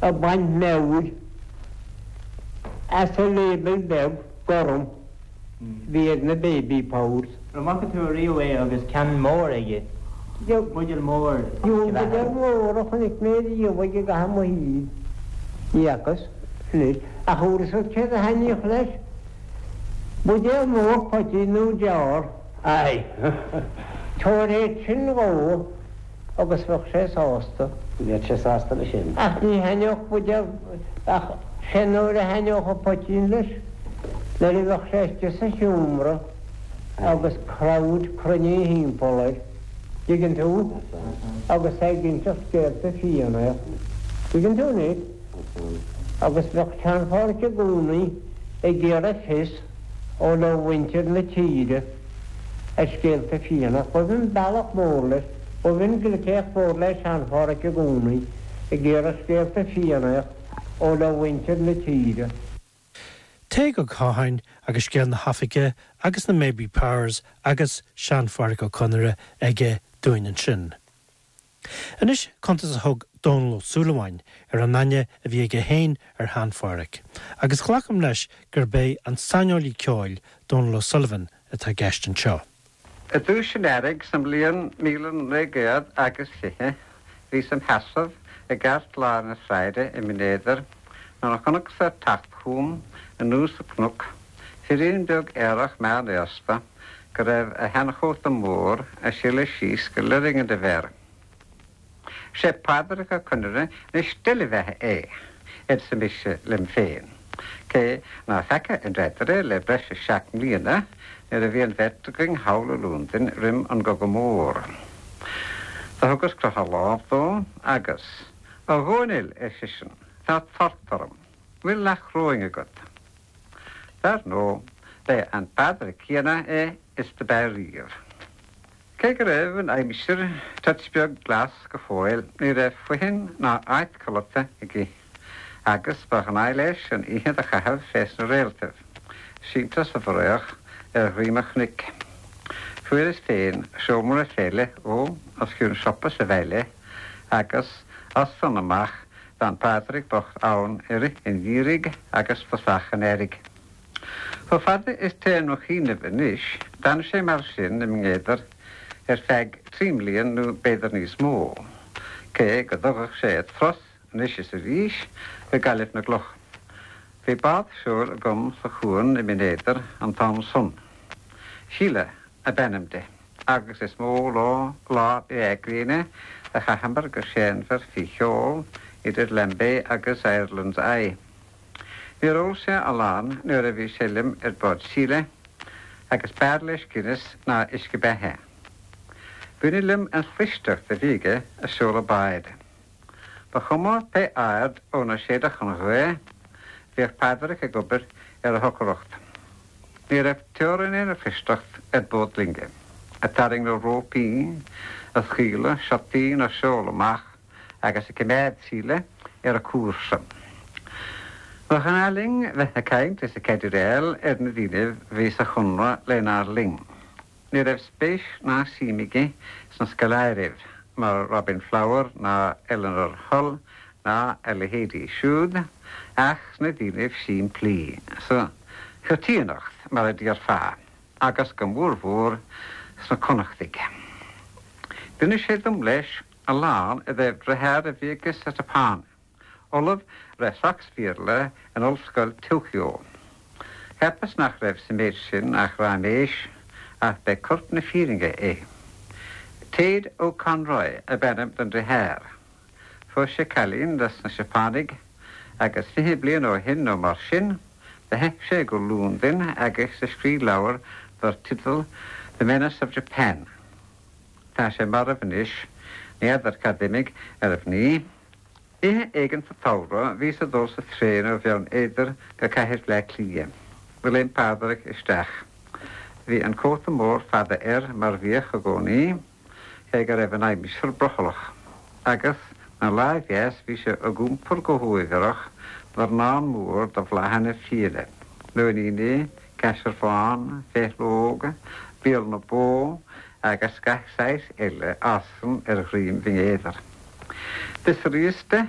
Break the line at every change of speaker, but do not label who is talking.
Ag baint meabhair as an label beag gorm a bhí ar na Baby Powers.
An bhfaca tú ariamh é agus ceann mór aige? Buidéal mór
uisce beatha. Buidéal mór a chonaic mé riamh aige i gcaitheamh mo shaoil. Ní fhacas anois ach an bhfuil a fhios agat céard a thaitníodh leis? Buidéal mór poitín nó jar.
Aye.
Tabhair é sin dhó agus bheadh sé sásta.
Bheadh sé sásta leis sin.
Ach ní thaitneodh buidéal, ach sé nuair a thaitneodh an poitín leis, nuair a bheadh sé istigh sa seomra agus crowd cruinnithe thimpeall air, dtuigeann tú, agus é ag inseacht scéalta Fiannaíocht, dtuigeann tú anois, agus bheadh Sean-Phádhraic i gcónaí ag iarraidh fios ó mhuintir na tíre. ar scéalta Fiannaíocht. B'shin bealach mór leis, b'shin glicéacht mhór le Sean-Phádhraic i gcónaí, ag iarraidh scéalta Fiannaíocht ó le mhuintir na tíre.
Tadhg Ó Catháin agus scéal na hoifige agus na Maybe Powers agus Sean-Phádhraic Ó Conaire aige dúinn ansin. Anois cuntas a thug Dónall Ó Súilleabháin ar an aithne a bhí aige féin ar Shean-Phádhraic, agus glacaim leis gurb é an saineolaí ceoil Donal O'Sullivan atá i gceist anseo.
I dtús an earraigh sa mbliain 1920 bhíos im sheasamh i gceartlár na sráide i mBinn Éadair nuair a chonacsa ag teacht chugam anuas an cnoc firín beag aerach meánaosta go raibh a sheanchóta mór ag sileadh síos go lirnge de mhéar. Sé Pádraic Ó Conaire na steillebheatha é, arsa mise liom féin, cé ná feaca an daidire le breis is seacht mbliana nuair a bhí an bheirt againn thall i Lúndain roim an gCogadh Mór. Do thugas croitheadh lámh dó agus, A Dhónaill, ar seisean, tá tart orm. Bhfuil leath choróin agat? Dar ndóigh, b'é an Pádraic céanna é is do b'ea riamh. Cé go raibh an aimsir toit beag glas go fóill, ní raibh fothain ná áit codlata aige, agus ba ghnáth leis an oíche do chaitheamh fé sna réaltaibh, sínte sa bhfraoch ar dhroim an chnoic. Fuaireas féin seomra fé leith dhó os cionn siopa sa bhaile, agus as san amach D'fhan Pádraic bocht ann i rith an gheimhridh agus tosach an earraigh. Chomh fada is téann mo chuimhneamh anois, d'fhan sé mar sin i mBinn Éadair ar feadh trí mblian nó b'fhéidir níos mó, cé go dtugadh sé turas anois is arís go Gaillimh na gCloch. Bhí bád seoil agam sa chuan i mBinn Éadair an t-am san. Síle ab ainm di. agus is mó lá lá breá gréine a chaitheamar go séanmhar faoi sheol idir Lambay agus Ireland's Eye. Níor ól sé a lán nuair a bhí sé liom ar bord Síle, agus b'fhearr leis Guinness ná uisce beatha. B'ionadh liom an chlisteacht a bhí aige a seoladh báid. Ba chuma pé aird óna séideadh an ghaoth, bhíodh Pádraic ag obair ar a shocracht. Ní raibh teorainn lena chlisteacht ar bord loinge, ag tarraingt na rópaí, ag scaoileadh siotaí na seol amach agus ag coimeád Síle ar a cúrsa. Ba ghnáth linn bheith ag caint is ag cadeireáil ar na daoinibh bhí sa chonradh lenár linn. Ní raibh spéis ná suim aige sna scoláiribh mar Robin Flower ná Eleanor Hull ná a leithéidí siúd ach sna daoinibh simplí, sa choitiannacht mar a déarfá, agus go mórmhór sna Connachtaigh. D'inis sé dom leis a lán i dtaobh driotháir a bhí aige sa tSeapáin. Ollamh le Sacs-Bhéarla in Ollscoil Tokyo. Cheapas nach raibh sa méid sin ach raiméis, ach b'é corp na fírinne é. Ted O'Conroy ab ainm don driotháir. Phós sé cailín dos na Seapánaigh agus 20 bliain ó shin nó mar sin, do theith sé go Lúndain agus do scrígh leabhar dar teideal The Menace of Japan. Tá sé marbh anois, ní fheadar cad d'imigh ar a mhnaoi. Oíche éigin sa tsamhradh bhíos ag dul sa traein ó Bheann Éadair go cathair Bhleá Cliath. Do léim Pádraic isteach. Bhí an cóta mór fada air mar bhíodh i gcónaí, cé go raibh an aimsir brothallach, agus 'na láimh dheas bhí sé ag iompar go huaibhreach dornán mór de bhláthanna fiaine, nóiníní, caisearbhán, féithleog, béal na bó agus gach saghas eile a fhásann ar dhroim Bhinn Éadair. D'fhiosraíos de.